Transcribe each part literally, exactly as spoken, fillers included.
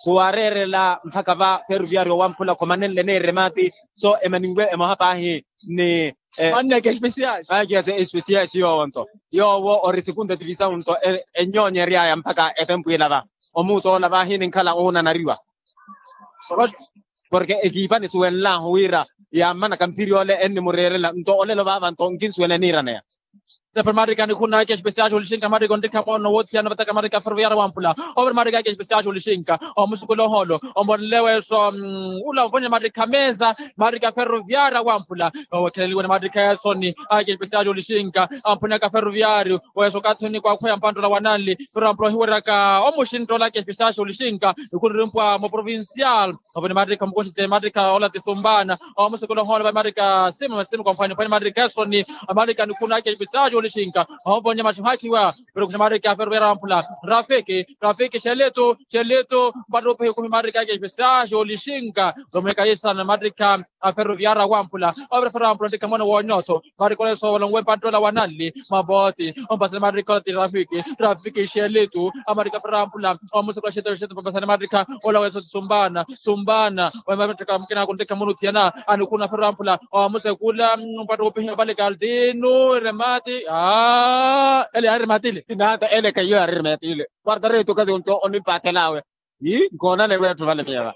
khuwareerela mpakha va ferroviario wamphula khomanenle ni eremati. So emaninwe emoha paahi ni manne ake especial. Ake especial yoowo nto yoowo ori segunda divisao nto ennyonyeryaya mpakha etempu ila va omuutola vahi ninkhala oonanariwa. Porke ekiipa nisuwenlahu wira yammanaka mphiri ole ennimureerela nto olelo vaava nto nkinsuwela eniiraneya. Tepe marika nikhuna ake especial olixinka marika onrikha moono wothiyana vataka marika ferroviario wamphula. Ove marika ake especial olixinka omusukula oholo omonleweso ula ovonye marika mesa marika ferroviario wamphula. Owekheleliwe ni marika esoni ake especial olixinka amphunaka ferroviario weso okathi onikwaakhweya mpantola wananli. Ferroviario amphula ohiweryaka omuxintola ake especial olixinka nikhunirimpwa muprovincial. Ovoni marika mukoxite marika ola tisumpana omusekula ohoole va marika sima masima kwa mfwani mfwani marika esoni. Marika nikhuna ake especial olixinka ovonya maxuhakhiwa. Pero kuxa marika ferroviario wamphula rafiki rafiki xeletu xeletu mpattupihi kumi marika ake especial olixinka romweka yisana marika a ferroviario wamphula. Ovira ferroviario wamphula onrikha mwana wonyotho marika oleso olonwe mpantola wananli mavoti ompasani marika ola ti rafiki rafiki xeletu. Amarika ferroviario wamphula omusekula xeletu xeletu mpapasani marika ola weso sumbana sumbana. Omattaka mukina kuntekha munu thiyana anikhuna ferroviario wamphula omusekula mpattupihi opale kaldinu remati. Ele yaarematile. Inata ele kaiyo yaarematile. Quarta reto kathi onto onipakhelawe nkoonane wetthu vale miyeva.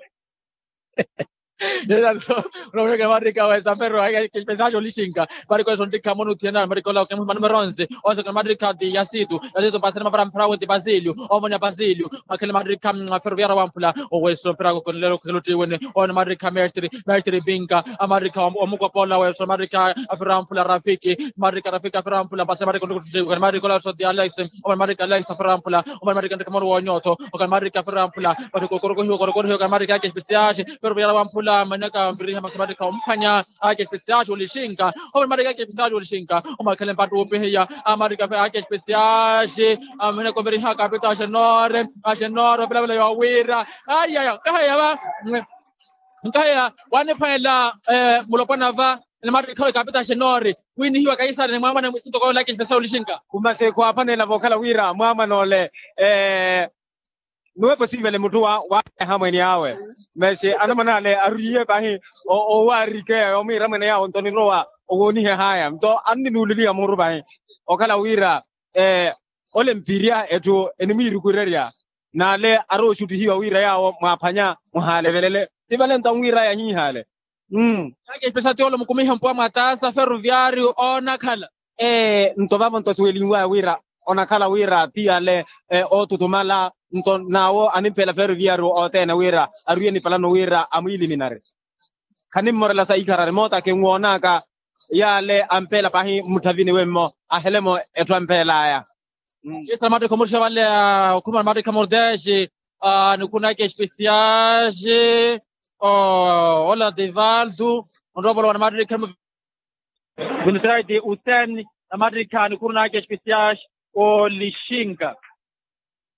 Nilaniso unamunekela marika wesa ferro ake especial olixinka. Marika wesa ontikha munu thiyana marika ola okemumani meronse. Osekela marika ti yasitu yasitu mpasani mapara mphara weti basilio. Omonya basilio makhele marika ferroviario wamphula. Oweso mpira kokonelelo khelo tiwene. One marika mestre mestre binka amarika omukopola weso marika ferroviario wamphula rafiki marika rafiki ferroviario wamphula mpasani marika ontikha marika ola soti alex. Omwe marika alex ferroviario wamphula. Omwe marika ntikha muru wonyotho okhala marika ferroviario wamphula. Pati kokorokohiwa kokorokohiwa okhala marika ake especial. Ferroviario wamphula manaka mpiriha masi marika omphwanya ake especial olixinka. Omwe marika ake especial olixinka omakhele mpattupihiya amarika ake especial. Amene komberiha kapita xenore axenore opilavela yowira. Ayaya nkaheya va nkaheya waniphwanela mulopwana va. Ni marika khalo kapita xenore winihiwa kaisari ni mwamwane mwisinto koolaka especial olixinka. Kumase khwaapanela vookhala wira mwamwane ole nuwepo siivele mutthu wa waareha mweene awe. Masi anamwane ale arwiiye pahi owaarikeya yoomwiira mweene yawe nto nirowa owoonihe haya nto anninuuleliha muuru pahi. Okhala wira ole mpirya etthu enimwiirukurerya n'ale arowa oxuttihiwa wira yaawo mwaaphwanya muhaalevelele. Ti vale nto anwiiraya ahiihaale. Ake especial ti ole omukumihe mpuwa mwa taasa ferroviario oonakhala. Ee nto vavo nto siwelinwaya wira onakhala wira ti ale oothuthumala nto n'awo animphela ferroviario othene wira arwiye nipalano wira amwiiliminari. Khanimmorela sa ikharari moota kinwoonaka yaale ampeela pahi mmutthavini wemmo ahelemo etthu ampeelaya. Isa matikha omuttha vale okhumana matikha mordexe. Nikhunaka especiaxe ola divaldo onroopolo wana matikha. Vinitiraiti usen na matikha nikhunaka especiaxe olixinka.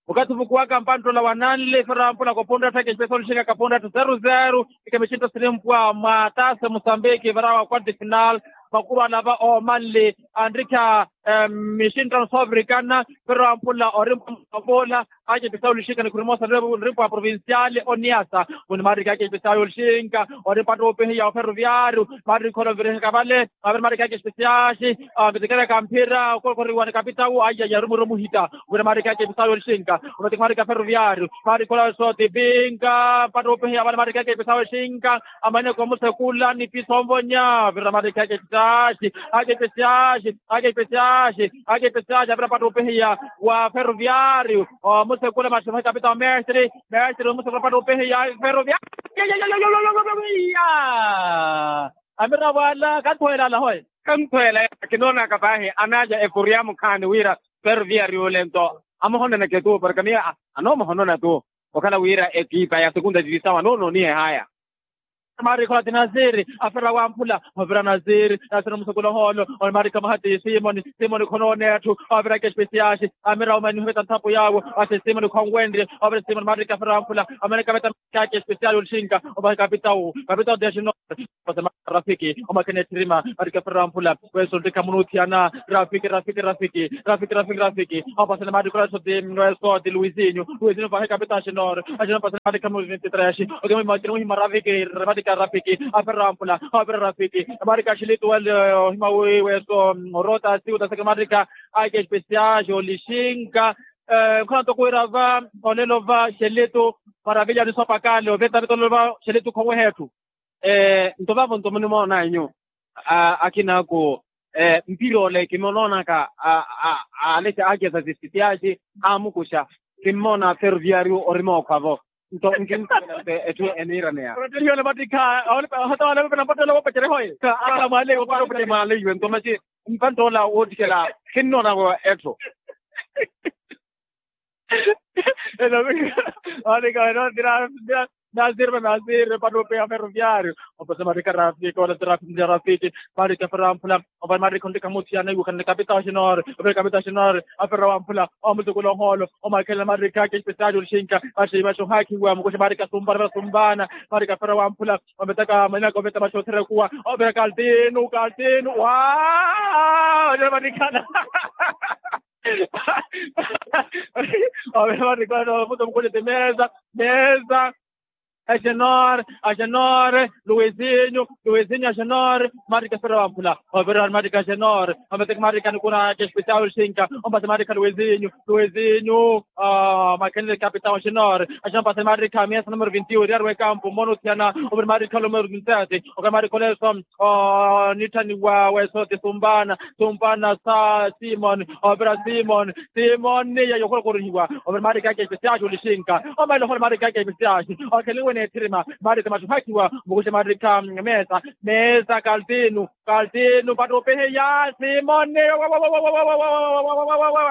Okathi ovukuwaka mpanttula wa nanle ferro ampula kopunra tthaka especial olixinka kapunra tthi zero zero. Ika mixintto sinimpwa mwa taase musambiki varawa quarto final. Makuru alava oomanle anrikha mixintto soovirikana. Ferro ampula orimpwa mwapola ake especial olixinka nikhurimosa nrimpwa provincial oniasa. Muni maarikha ake especial olixinka ori mpattupihiya oferroviario maarikha olovirihaka vale. Aviri maarikha ake especial. Mitekereka mphira okorokoriwa ni kapitawu aiya yarumiru muhita. Wira maarikha ake especial olixinka omatikha maarikha ferroviario maarikha olawe sooti pinka mpattupihiya vale maarikha ake especial olixinka. Amaneko omusekula ni piso onvonya vira maarikha ake especial ake especial ake especial ake especial avira mpattupihiya wa ferroviario. Omusekula maximhe kapitawu mestre mestre omusekula mpattupihiya ferroviario. Amira wala kanthuwela alahoye. Kanthuwela kinoonaka paahi anaaja ekuriya mukhaani wira ferroviario ole nto amuhononeke tu porke miyo anoomuhonona tu. Okhala wira ekipa ya segunda divisao anoononihehaya. Maarikha ola ti nasiri, afera wamphula, ovira nasiri, nasiri omusukula ohoolo. Omaarikha mwaha ti simoni, simoni khonooneya etthu, ovira ekespesiyaxi, amira omaniho veta nthapu yaawo. Axi simoni khonwenrye, ovira simoni maarikha afera wamphula, omaarikha veta. Ekespesiyaxi olixinka, omaarikha kapitawu, kapitawu ti axino. Rafiki omakhene etthirima, maarikha afera wamphula. Weso ontikha munuuthiyana. Rafiki rafiki rafiki, rafiki rafiki rafiki. Opasele maarikha ola soti, weso ti luisinyu, luisinyu vahe kapitawu axinoro. Axinoro opasele maarikha munuuthiyana. Okimwima rafiki, maarikha rafiki, afera wamphula, opira rafiki. Maarikha axilitu wale, ohima wi weso, orota siwuta seke maarikha. Ake espesiyaxi olixinka. Nkhola ntoko wira va, olelo va xeletu, maravilya ni sopakale oveta veta olelo va xeletu khoweha etthu. Nto vavo nto munimoona inyu, akina ako, mpira ole kimonoonaka, alexa aja za zisitiyaxi, amukuxa, kimoona ferroviario orimookho avo. Nto nkinkola etthu eniiraneya. Orettelihiwa namattikha, ahota wale vapena mpattola woopecerehoye. Ala mwaleiwe mpattola woopecerehoye. Mwaleiwe nto maxi, mpattola woottikela, khinnoona vo etthu. Elo, maarikha eno tira, tira, nasirve nasirve pano peya ferroviario. Opose maarikha rafiki wala tira, tira rafiki. Maarikha ferroviario. Opose maarikha ontikha muthiyana iwukhana kapitawu axinoro, opire kapitawu axinoro. Afera wamphula, omutukula ohoolo, omakhela maarikha ake espesiyaxi olixinka. Maximaxi ohakhiwa mukuxe maarikha sumpana, sumpana. Maarikha afera wamphula, ometaka manaka oveta maxothera ekuwa. Opira kaltinu kaltinu wa, maarikha. Ovira maarikha omutukula ti mesa, mesa. Axenor, axenor, luisinyu, luisinyu axenor. Maarikha afera wamphula, ovira maarikha axenor. Ometeke maarikha nikuna ake espesiyaxi olixinka. Ompase maarikha luisinyu, luisinyu. Makhenle kapitawu axenor. Axenor ompase maarikha mesa numero vinti ori ari wekampu mmono othiyana. Ovira maarikha numero vinti ati, okhala maarikha oleso. Onitthaniwa weso ti sumpana, sumpana sa simoni, opira simoni, simoni yeyo okholokhorihiwa. Opira maarikha ake espesiyaxi olixinka. Omaile ohoolo maarikha ake espesiyaxi, okheliwe n'ethirima. Maarikha maxuhakhiwa mukuxe maarikha mesa, mesa kaltinu, kaltinu mpatto opeheya simoni.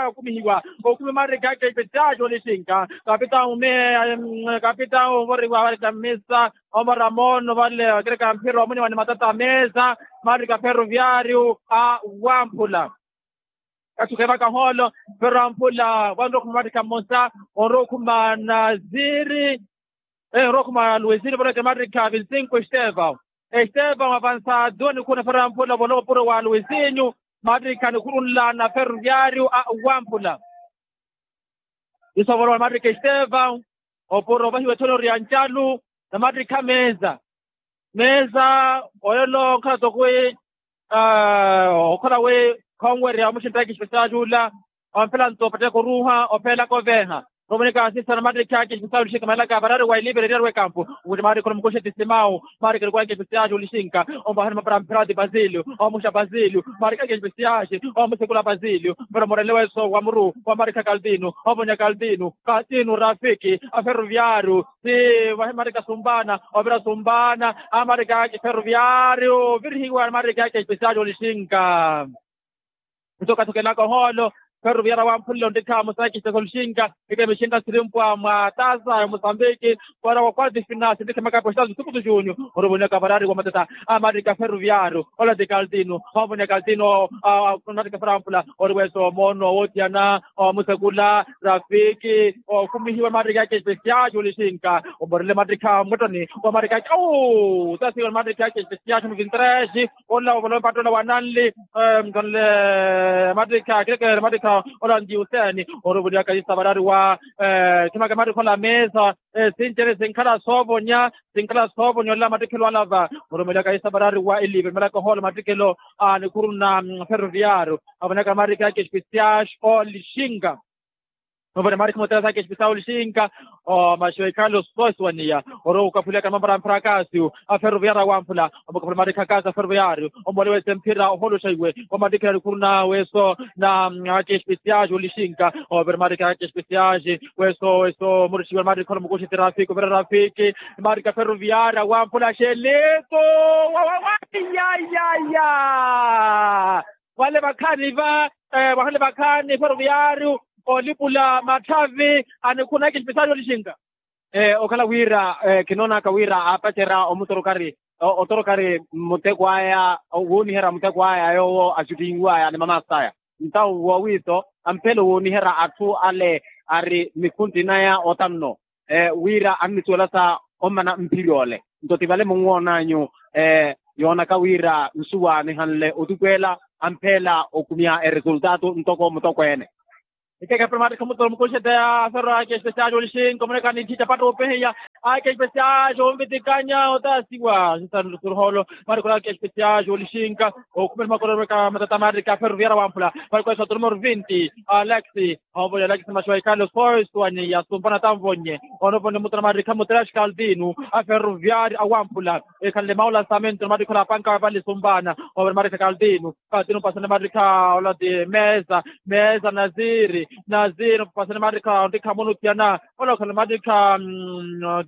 Okumihiwa, okumihiwa maarikha ake espesiyaxi olixinka. Kapitawu me, kapitawu ovoriwa maarikha mesa. Omara moono vale okereka mphira omwene wa ni matata mesa. Maarikha ferroviario a wamphula. Katthukhe vaka ohoolo, ferroviario a wamphula vanrowa okhuma maarikha mmosa. Onrowa okhuma nasiri, onrowa okhuma luisinyu vanrowa okhuma maarikha vinsinko estevao. Estevao avansado nikhuuna ferroviario a wamphula volowa opuro wa luisinyu. Maarikha nikhuuna nla na ferroviario a wamphula. Iso volowa maarikha estevao. Opuro ovahiwa ethonori ya ncalu, na maattikha meeza. Meeza oyolo onkhala toko wi, okhala wi khonwerya omuxinttaka espesiyaxi ula. Omphela nto opatteka oruuha opheelaka oveeha. Romoneka sisa na maattikha ake espesiyaxi olixinka malaka varari wa ilivere eriyari w'ekampu. Okuti maarikha olomukuxe ti simau. Maarikha olukwaka espesiyaxi olixinka. Ompahani mapara mphera ti basílio, omuxa basílio. Maarikha ake espesiyaxi, omusekula basílio. Pero morele weso wa muru wa maarikha kaltino, ovonya kaltino. Katinu rafiki a ferroviario. Si vahe maarikha sumpana, ovira sumpana. A maarikha ake ferroviario ovirihiwa maarikha ake espesiyaxi olixinka. Nto kathukelaka ohoolo, ferroviario a wamphula ontikha musaki espesiyaxi olixinka. Ike mixinka sirimpwa mwa tasa ya musambiki. Para wa quarto de final sintikhe makapo estado sukutu junio. Oruvuneka varari wa matata a maarikha ferroviario. Ola ti kaltino, ovonya kaltino. Maarikha ferroviario a wamphula, ori weso moono woothiyana. Omusekula rafiki, okhumihiwa maarikha ake espesiyaxi olixinka. Omorele maattikha mwettoni wa maarikha ake au tasiwa maattikha ake espesiyaxi muvintrexi. Ola ovolowe mpattola wa nanli, mtonle maattikha akilekele maattikha ola ntiuseni. Oruvulyaka isavarari wa khimaka maattikha ola mesa. Sinjere sinkhala soovonya, sinkhala soovonya ola mattikhelo alava. Oruvulyaka isavarari wa elive malaka ohoolo mattikhelo a nikhuru na ferroviario. Avonaka maattikha ake espesiyaxi olixinka. Novona maarikha mutela saka espesiyaxi olixinka. Omaxewe carlos sosi waniya, orowa okaphuliyaka mamara mphara akasiyu a ferroviario a wamphula. Omukaphula maarikha akasi a ferroviario, omolewese mphira oholoxa iwe. Wa maattikhela nikhuru na weso na ake espesiyaxi olixinka. Ovira maarikha ake espesiyaxi weso weso murixiwe maarikha olomukuxi ti rafiki ovira rafiki. Maarikha ferroviario a wamphula xeleto. Wawawayayaya. Vale vakhaani va, vahale vakhaani ferroviario olipula matthavi a nikhuna ake espesiyaxi olixinka. Okhala wira kinoonaka wira aapacerya omutorokari otorokari muteko aya wooniherya muteko aya yoowo axuttinwaya ni mamasta aya. Ntawo wowiiso amphelo wooniherya atthu ale ari mikhunti naya otanno wira annisuwelasa ommana mphiri ole. Nto ti vale munwoonanyu yoonaka wira nsuwa nihanle otukwela amphela okhumya eresultato ntoko mutokweene. Ikekepela maattikha mutoro mukuxeteya aferwa ake especial olixinka omonekani ntthita patta opehiya ake especial onvitikanya otasiwa sisaruholo. Maattikhola ake especial olixinka okhumela makororweka matata maattikha aferwa viyara wamphula maattikhola sotono morvinti. Alex. Onvonye alex maxiwa ikale soiswani yasumpana tanvonye. Onvonye mutoro maattikha mutrash kaldinu aferwa viyari awamphula ekhanle maulasamento maattikhola apanka vale sumpana. Onvonye maattikha kaldinu. Kati nupasane mattikha ola ti mesa. Mesa naziri. Naziri nupasane mattikha ontikha munuthiyana ola okhala mattikha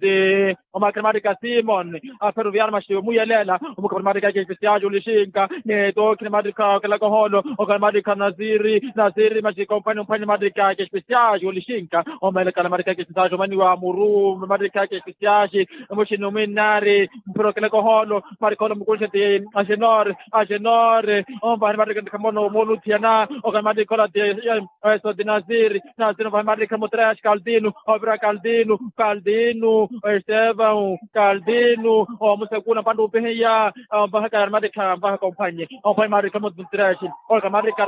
ti omakhale mattikha simon. Aferuviar maxiwe muyelela omukhapari mattikha ake especial olixinka. Ni tookhine mattikha okelakoholo okhala mattikha naziri. Naziri maxikompani omphwani mattikha ake especial olixinka. Omaelekhala mattikha ake especial omaniwa muru mattikha ake especial. Muxini omwinnari mphira okelakoholo mattikha ole omukulixe ti agenor. Agenor. Onvaha ni mattikha ntikhamono mooluthiyana okhala mattikha ola ti eso ti naziri. Naziri onvaha ni mattikha mutreya axi kaldinu. Ovira kaldinu. Kaldinu. Estevan kaldinu. Omusekula mpantta upihiya. Onvahaka ni mattikha onvahaka omphwanye. Omphwanye mattikha mutreya axi. Okhala mattikha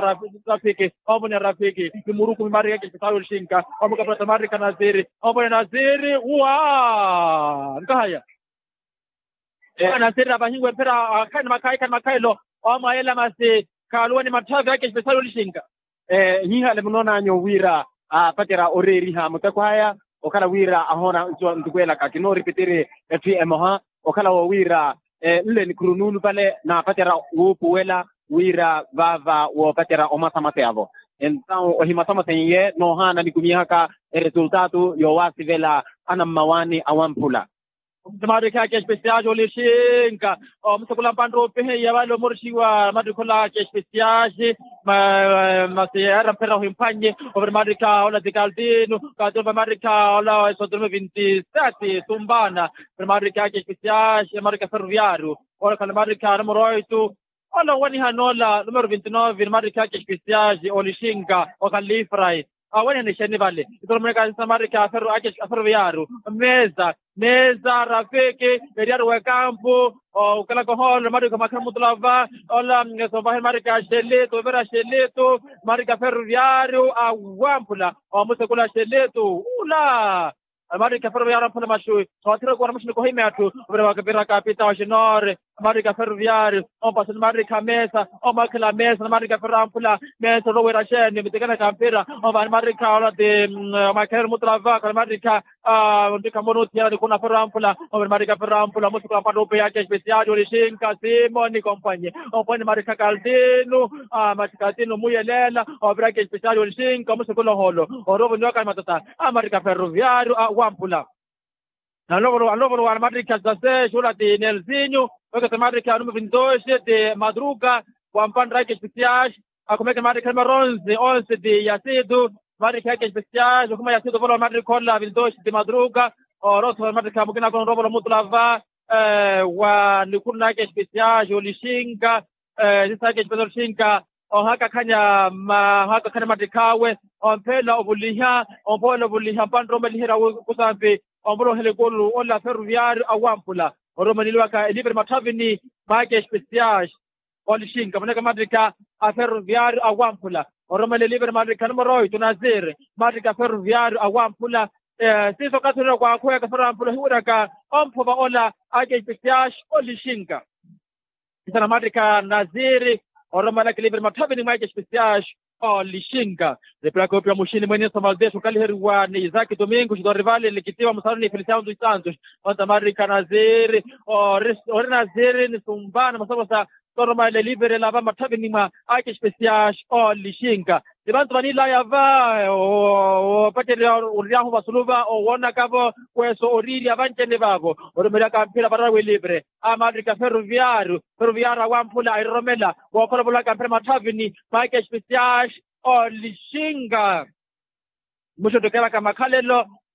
rafiki. Omvone rafiki ni murukumi mattikha ake especial olixinka. Omukapela ta mattikha naziri. Omvone naziri. Uwa nkahaya. Anasirira vahiwe mphira akhani makhayi khani makhayelo. Omwayela masi khaluwani matthavi ake especial olixinka. Hihale munoonanyu wira apacerya oreeriha muteko aya okhala wira ahoona nsuwa ntukwelaka kinooripitiri. Etthu emoha okhala wo wira nle nikhuru nuulupale naapacerya wuupuwela wira vaava woopacerya omasamase avo. Entawu ohimasamaseiye noohaana nikumihaka eresultaatu yoowaasivela anammawaani awamphula. Omusimaarikhi ake especial olixinka omusakula mpantta opihiya vale omurixiwa mattikhola ake especial. Masi yaara mphera ohimphwannye. Ovira maarikha ola ti kaldinu. Kaldinu va maarikha ola esotrume vinti sete sumpana. Ovira maarikha ake especial maarikha ferroviario. Ola khale maarikha numero oitu. Ola owanihana ola numero vinti nove ni maarikha ake especial olixinka. Okhalifrai awanihana exeni vale. Itoromoneka sisa maarikha aferoviario. Mesa. Mesa rafiki. Eriario wekampu. Okelakoha ola maarikha makhira mutulava. Ola sovahe maarikha xelitu ovira xelitu. Maarikha aferoviario awamphula. Omusekula xelitu ula. Maarikha aferoviario amphula maxuwi. Soothira kuwana muxini kohimya atthu. Ovira wakapira kapita oxinore. Maarikha aferoviario. Ompasani maarikha mesa. Omwakhela mesa na maarikha aferoviario amphula. Mesa oloweera xeeni mitikanaka mphira. Omvani maarikha ola ti omwakhela mutulava khale maarikha. Ontikha munuthiyana nikuna aferoviario amphula. Omvani maarikha aferoviario amphula omusuku ampattupe yake especial olixinka simoni komphwanye. Omphwanye maarikha kaldinu. Maarikha kaldinu muyelela. Oviraka especial olixinka omusuku oloholo. Oruvuniwaka matata. Amaarikha aferoviario awamphula. Alovolo alovolo wa maarikha sase xula ti nelsinho. Wekesa maarikha anume vintoxe ti madruga. Wampanraka especial. Akhumeke maarikha numero onze onze ti yasitu. Maarikha ake especial okhuma yasitu ovolowa maarikha ola vintoxe ti madruga. Oroso maarikha mukina akona orovolo mutulava. Wa nikhuru nake especial olixinka. Sisake especial olixinka. Ohakakhanya ohakakhanya mattikhawe. Omphela ovuliha. Omphela ovuliha mpantta omaliherya kusampi. Omvolohela ekulu ola aferoviario awamphula. Oromaneliwaka elivre matthavini. Make especial olixinka voneka mattikha aferoviario awamphula. Oromela elivre mattikha numero oitu nazir. Mattikha aferoviario awamphula. Siiso okathi onira kwaakhuweka aferoviario amphula ohiweraka omphova ola. Ake especial olixinka. Kisana mattikha nazir. Oromalaka elivre matthavini mwa ake especial olixinka. Nipilaka opiwa muxini mwene somaldeso okaliheriwa ni isaki domingo xidorivale likitiwa musaruni feliciano dos santos. Onta mattikha nazir. Ori nazir ni sumpana masavosa. Toromale livere lava matthavini mwa ake especial olixinka. Ni vantu vanilaya va opacerya oryahu vasulu va owonaka vo. Kweso oriirya vancene vavo oromeryaka mphira varawe livre. Amaarikha ferroviario. Ferroviario awamphula airoromela. Wookhola ovolaka mphira matthavini mwa ake especial olixinka. Muxuttukelaka makhalelo.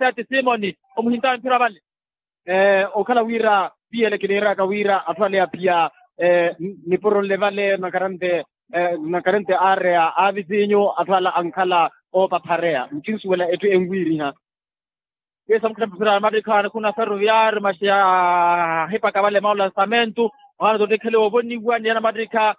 oseya ti simoni omuhintawe mphira vale. Okhala wira piyele kiniiraka wira atthu ale aphiya nipuronle vale nakarante nakarante aareya a visinyu atthu ala ankhala oopaphareya nkinsuwela etthu enwiiriha. Kisa mukhira mpira mattikha nikhuna ferroviario masi ahipaka vale mawu lansamentu. Ohana tottikhaliwa ovoniwa niyana mattikha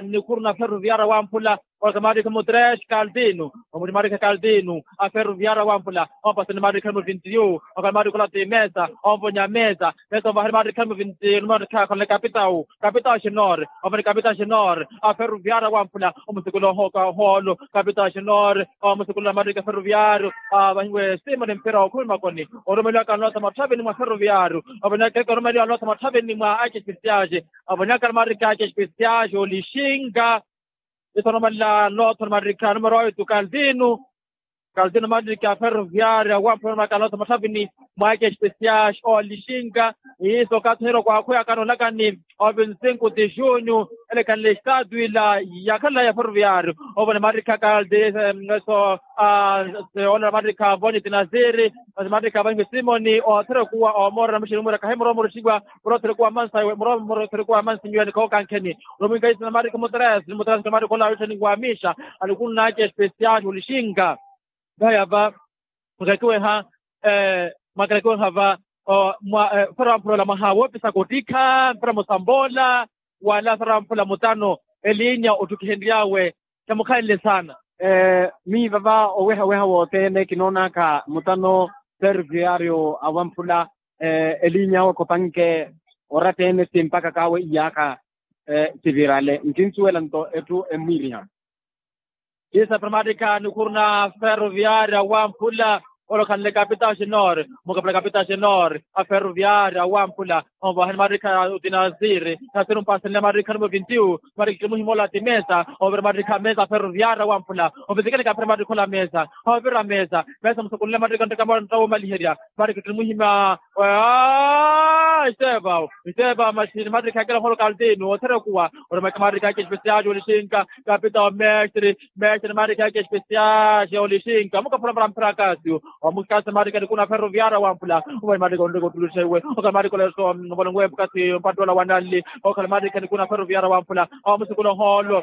nikhuruna ferroviario wamphula. Olaka mattikha mutres kaldinu omuti mattikha kaldinu a ferroviario wamphula. Ompasani mattikha muvintiyu okhala mattikha ola ti mesa omvonya mesa. Mesa omvahani mattikha muvintiyu mattikha khonle kapitawu kapitawu xinore. Omvani kapitawu xinore a ferroviario wamphula omusikula ohoka oholo kapitawu xinore. Omusukulula mattikha ferroviario avahiwe simoni mphira okhumi makoni. Orumeliwaka nlotha matthavini mwa ferroviario. Ovonaka kereke orumeliwa nlotha matthavini mwa ake especiage. Ovonaka mattikha ake especiage olixinga. Iso orumela nlotha mattikha numero oitu kaldinu. Kaldinu mattikha ferroviario wamphula orumaka nlotha matthavini mwa ake especiage olixinga. Iso okathi onhira okwakhweyakana onakani ovinti sinku ti junyu. Ele ekhanle estatu ila yakhalelaye ferroviario. Ovona mattikha kaldi eso. Ola mattikha voni tinasiri. Mattikha vanhwe simoni othera okuwa omorera muxini mura kahi mura omorera oxiwa. Mura othera okuwa mansa iwe mura omorera othera okuwa mansa inyu yani kookankheni. Romwinka isina mattikha mutres mutres ka mattikha ola awitthani wa mixa. Alukunna ake especial olixinka. Vaya va mwakalakiweha mwakalakiweha va. Mwa fera wamphula ola mwaha woopisaka ottikha mpira musamboola wala fera wamphula mutano elinya otthukihenry'awe. Tamukhanle saana. Miyo vava owehaweha wothene kinoonaka mutano ferroviario awamphula elinya awe khopanke oratta-ene ti mpakaka awe iyaakha. Sivirale nkinsuwela nto etthu emmwiiriha. Kisa primatika nikhuruna ferroviario awamphula. Olokhanle kapitaxi nor mukapula kapitaxi nor a ferroviario awamphula. Onvahani matikha otinasiri nasiri ompasenle matikha numero vintiu. Matikha kimuhimola ti mesa ovira matikha mesa a ferroviario awamphula. Ovitikani kapira matikha ola mesa ovira mesa mesa musukunle matikha nttaka mwa ntta womaliherya. Matikha kimuhima. Estevaw estevaw masi ni matikha akela oholo kaltinu othera okuwa. Oromaka matikha ake especial olixinka kapita omestre. Mestre matikha ake especial olixinka mukaphula para mphira akasiyo. Omukasi matikha nikuna ferroviario wamphula. Omwe matikha onreka ottuluxa iwe okhala matikha oleso. Ovolonwe mukasi mpattola wananli okhala matikha nikuna ferroviario wamphula. Omusukula oholo.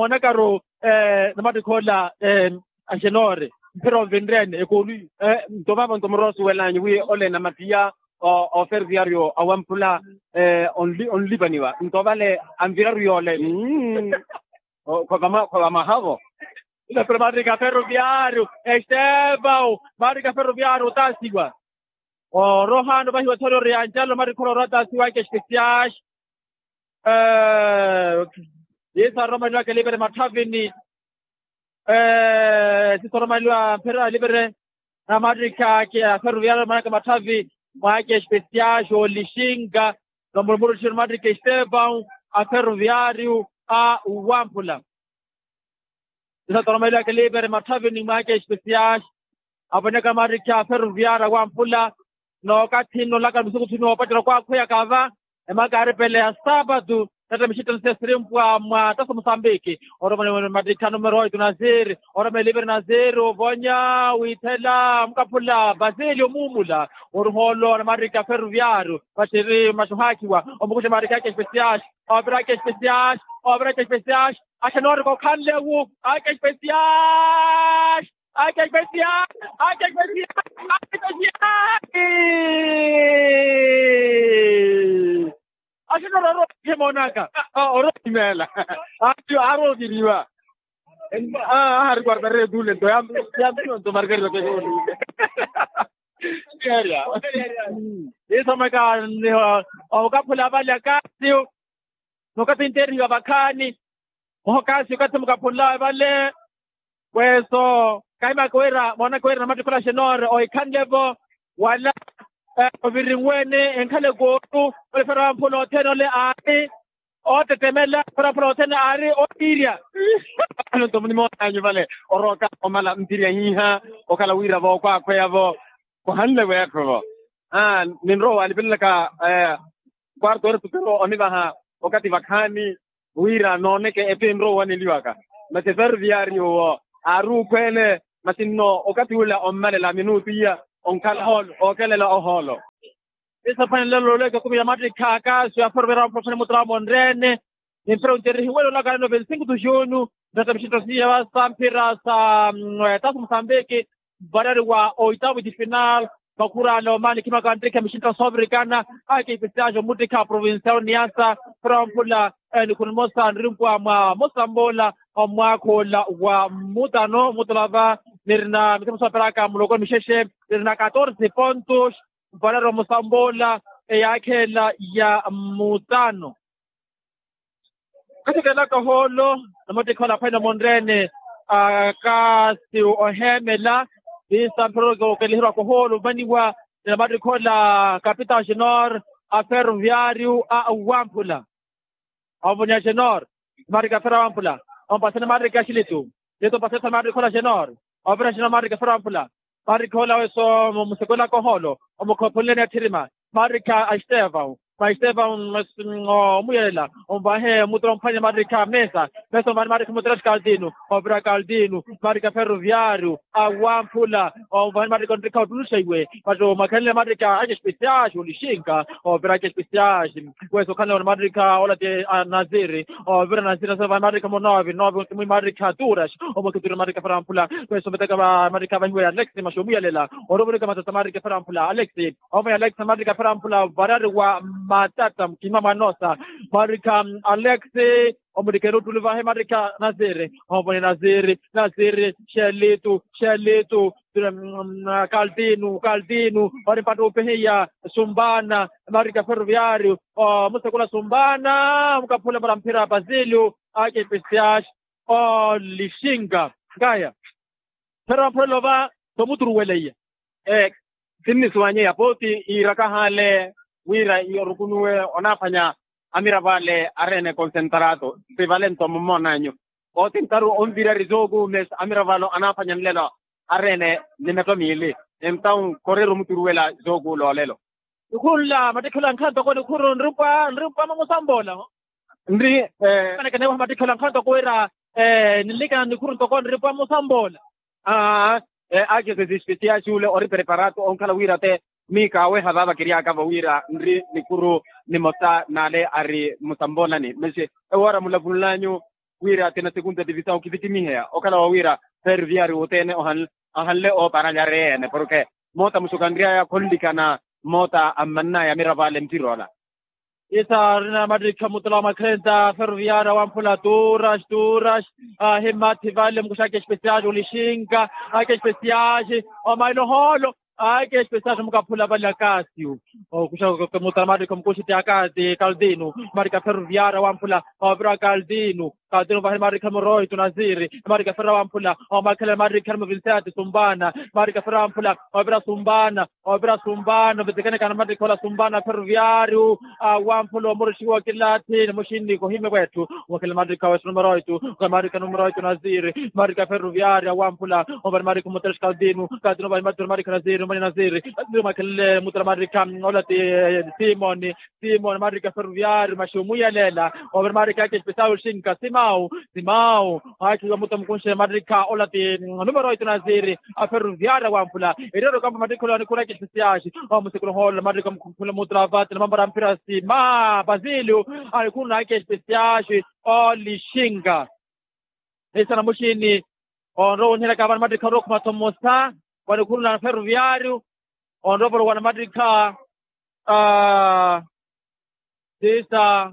moonakaru namattikha ola axenoori mphira onvinreni ekulu. Nto vaavo nto muroosuwelanyu wi ole namatiya oferviario awamphula onlipaniwa nto vale anviraru yoole. Khwavamahavo. Ila pero mattikha ferroviario estevao mattikha ferroviario otasiwa. Orohano vahiwa thori ori anjalo mattikha oroora otasiwa ake especiais. Yesu aromaliwa kelivere matthavini. Sisoromaliwa mphira alivere namattikha ake aferroviario manaka matthavi mwaake especiais olixinga. Nomurumuru tthiri mattikha estevao aferroviario a wamphula. Isatoromeliwa kelivere matthavini mwaake especiais. Avoneka mattikha aferroviario a wamphula. Nookathi nnolaka misukuthuni woopacerya kwakhweyaka va emakaaripele ya saapatu. Tatta mixittano sesirimpwa mwa taso mosambiki. Oromele mattikha numero oitu naziri. Oromele liveri naziri ovonya withela mukaphula basilio muumula. Oruhoolo na mattikha ferroviario vattiri maxuhaakiwa. Omukuxa mattikha ake especiais. Oviraka especiais. Oviraka especiais. Axenoorika okhanlewu. Ake especiais. Ake especiais. Ake especiais. Ake especiais. Axenoorika orookihe moonaka. Orookimeela. Arookiriwa. Ahari quartareta ule nto yampiwa nto margarita peke ule. Isomeka niho okaphula vale akasiyo. Nokathi nterihiwa vakhaani. Mwaha okasiyo okathi mukaphunlawe vale. Kweso Kahimaaka wira moonaka wira namattikhi ola xenor ohikhanle-vo wala ovirinweene enkhala ekooru. Ole fera wamphula othene ole aari ootetemela fera wamphula othene aari otiirya. Nto munimoonanyu vale orooka omala mpirya hiiha okhala wira vookwaakhweya-vo. Khuhanle weetthu-vo ninrowa waalipelelaka kwarto ori putero onivaha okathi vakhaani wira nooneke epi enrowa owaneliwaka. Masi ferviario owo aari ukhweele masi nno okathi ula ommalela minutu iya onkhala ohoolo ookelela ohoolo. Isaphwanelelo oleke kumi ya mattikha akaasu ya ferviario amutthu aphwene mutthu amonreene nimphira onterihiwele olaka neno veinticinco tu junu. Nrata mixinto siya sa mphira sa tasu musambiki varari wa oitavu di final. Makhurale omaani khimaka nttikha mixinto soovirikana. Akipisiyaxa omuttikha provincial niyasa fera wamphula nikhunimosa nrimpwa mwa mosamboola omwaakha ola wa mutano mutulava nirina mithimusa operaka muloko mixexe nirina catorce pontos. Varari wa mosamboola eyaakheela ya mutano. Kathikela kahoolo namattikha ola aphwene monreene akasi oheemela. Visa mphiroreke okeleherya kahoolo ovaniwa ni namattikha ola kapita genor a ferroviario a wamphula. Omvonya genor mattikha fera wamphula ompasani mattikha xilitu. Xilitu ompasani mattikha ola genor ovira genor mattikha fera wamphula. Marikha ola weso musekwelaka ohoolo omukhophonleni atthirima. Marikha a estevão ma estevão omuyelela onvahe muturo mphwanya marikha mesa. Mesa onvahani marikha muturo xikaldinu ovira kaldinu marikha ferroviario awamphula onvahani marikha onrikha ottuluxa iwe. Vati omakhenle marikha ace especiais olixinka ovira ace especiais. Weso okhanle wana marikha ola ti anaziri ovira anaziri naseva marikha munovi novi mwi marikha turas. Omwekhi turas marikha fera wamphula kweso ometeka marikha vahiwe alex maxi omuyelela. Orovorika matata marikha fera wamphula alex. Omwe alex marikha fera wamphula varari wa matata mukima mwanosa marikha alex. Omulikela ottuli vahe marikha naziri ovone naziri naziri xelitu xelitu. Kaldinu kaldinu vari mpattu opehiya sumbana marikha ferroviario omusekula sumbana omukaphula para mphira basilio. Ake pesias olixinka nkaya phera wamphurela ova. Tomuturuweleiya sinnisuwanyeya pooti iiraka hale wira iyorukunuwe onaaphwanya amiravo ale areene konsentrato. Sivale nto mummoonanyu ooti ntaru onvirari zookuume amiravo ale anaaphwanya nlelo areene ni metto miili. Entawu koreera omuturuwela zookuula olelo. Nikhuru nla mattikhi ola nkhanto ko nikhuru nrimpwa nrimpwa mamusamboola. Nri manekenewaha mattikhi ola nkhanto ko wira ninlikana nikhuru ntoko nrimpwa musamboola. Aa. Akesesi especial xule ori preparato onkhala wira te miika aweha vaavakiryaka vawira nri nikhuru nimosa n'ale ari musamboolani masi ewoora mulavunlanyu wira tina segunda divisaw kivitimiheya okhala wawira ferviari wothene ohanle ooparalya ari ene porke moota musukanryaya khonlikana moota ammannaya amiravo ale mpiroola. Isa rina mattikha mutula wa makhenta ferviari awamphula turas turas ahimathi vale mukuxaka especial olixinka ake especial omaila ohoolo. Ake especial mukaphula vale akasiu okuxa mutula mattikha mukuxiti akati kaldinu mattikha ferviari awamphula ovira kaldinu. Kaldinu vahini mattikha muroitu naziri mattikha fera wamphula omakhela mattikha muvinseti sumbana mattikha fera wamphula ovira sumbana. Ovira sumbana ovitekenekana mattikha ola sumbana ferroviario awamphula omuruxiwa kilathi ni muxinni kohime wetthu. Omakhela mattikha wesu numero oitu omakhela mattikha numero oitu naziri mattikha ferroviario awamphula ovani mattikha muterex kaldinu kaldinu ovani mattikha naziri numani naziri. Naziri omakhelele mutera mattikha ola ti simoni simoni mattikha ferroviario maxi omuyelela ovira mattikha ake especial oxinka simau simau. Aakhiwa muta mukunxe mattikha ola ti numero oitu naziri a ferroviario awamphula. Eriyari okampa mattikha ola nikhuraki especial omusekula ohoolo mattikha mukhula mutravati na mambara mphira sima basilio. Anikhuru naake especial olixinka. Esana muxini onrowa onihelaka vana mattikha orookhuma thomosa vanikhuru na ferroviario. Onrowa volowana mattikha sisa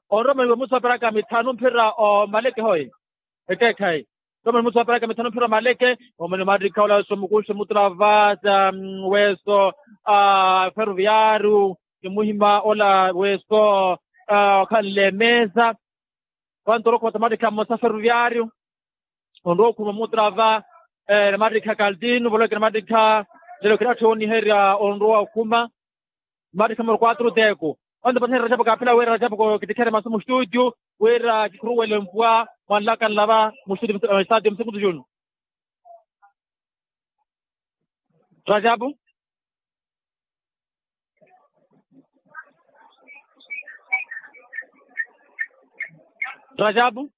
onrowa maniwe musu aperaka mithanu mphira omaleke hoyi. Ekeekhayi. Tomani musu aperaka mithanu mphira omaleke omani mattikha ola weso mukunxe mutula vasa weso ferroviario. Ni muhima ola weso okhanle mesa. Vantu orookhuma mattikha mmosa ferroviario. Onrowa okhuma mutrava. Namattikha kaltinu voloke namattikha. Lelo kiratthu oniherya onrowa okhuma. Namattikha moro kwatru teku. Onde pati rajapu kaphila wira rajapu kittikhere masu mu studio wira kikhuruwele mpwa mwanlaka nlava mu studio. Stadio msikutu junu. Rajapu. Rajapu.